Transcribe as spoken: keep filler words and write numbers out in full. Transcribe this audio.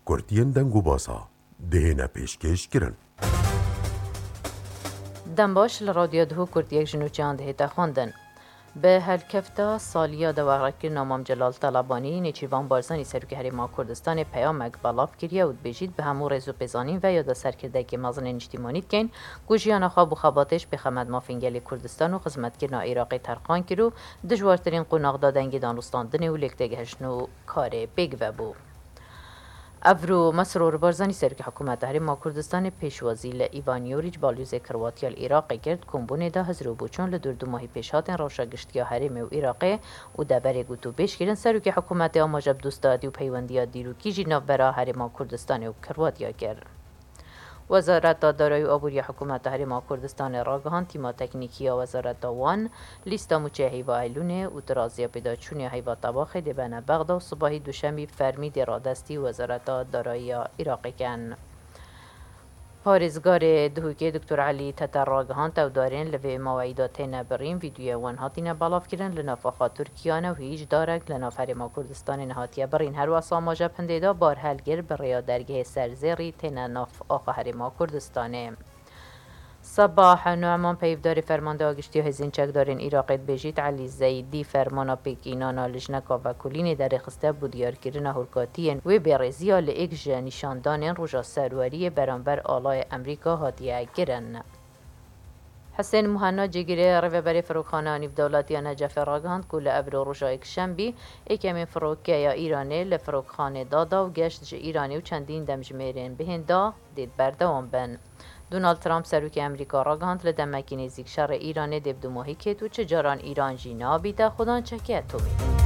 Kurtiyên deng û basa dihêne pêşkêş kirin. Dem baş, li Radyo Duhok Kurtiyek ji nûçeyan dihête xwendin. Bi helkefta saliya deverkirina Mam Celal Talabanî, Nêçîrvan Barzanî serokê Herêma Kurdistanê peyamek belav kiriye û dibêjît, bi hemû rêz û pêzanîn ve yada serkirdeyeke mezin ê niştîmanî dikeyn ku jiyana xwe bo xebatê ji pêxemet mafên gelê Kurdistan û xizmetkirina Iraqê terqan kir û dijwartirîn qonax da dengê danûstandinê û lêktêgihiştin û karê pêk vebû. Evro Mesrûr Barzanî serokê hikûmeta Herêma Kurdistanê pêşwazî li Îvan Yoric balyozê Kirwatiya li Iraqê kir, di kombûnê de hizir û boçûn li dûr du mahî pêş hatên rewşa giştiya herêmê û Iraqê û deverê gotûbêj kirin, serokê hikûmetê amaje bi dostatî û peywendiya dîrokî jî navbera Herêma Kurdistanê û Kirwatiya kir. Wezareta Darayî û Aboriya Hikûmeta Herêma Kurdistanê ragihand, tîma teknîkî ya wezareta wan lîsta mûçeya heyva Eylûnê û tiraziya pêdaçûnê ya heyva Tebaxê dê bene Bexda û sibahî duşemî fermî dê radestî Wezareta Darayî ya Iraqê kin. Parêzgarê Duhokê Doktor Elî Teter ragihand, ew darên li vê maweyî de têne birîn, vîdyoyê wan hatine belavkirin, li nav axa Tirkiye ne û hîç darek li nav Herêma Kurdistanê nehatiye birîn. Her wesa amaje bi hindê de bar helgir bi rêya dergehê Serzêrî têne nav axa Herêma Kurdistanê. Sebah Nu'man, peyvdarê Fermandeya Giştî ya Hêzên Çekdarên Iraqê, dibêjît, Elî Zeydî fermana pêkînana lijneka vekolînê derêxiste bo diyarkirina hûrkatiyên wê bêrêziya li êk ji nîşandanên Roja Serweriyê beramber alayê Emerîka hatiye kirin. Hisên Muhenna, cîgirê rêveberê Firokxaneya Nîvdewletî ya Necefê, ragihand ku li evro roja Yekşembî êkemîn firokeya Îranê li Firokxanê dada û geşt ji Îranê û çendîn demjimêrên bihên da dê berdewam bin. Donald Trump, serokê Emerîka, ragihand, li demekî nêzîk şerê Îranê dê bi dumahî kêt û çi caran Îran jî nabîte xwedan çekê etomî.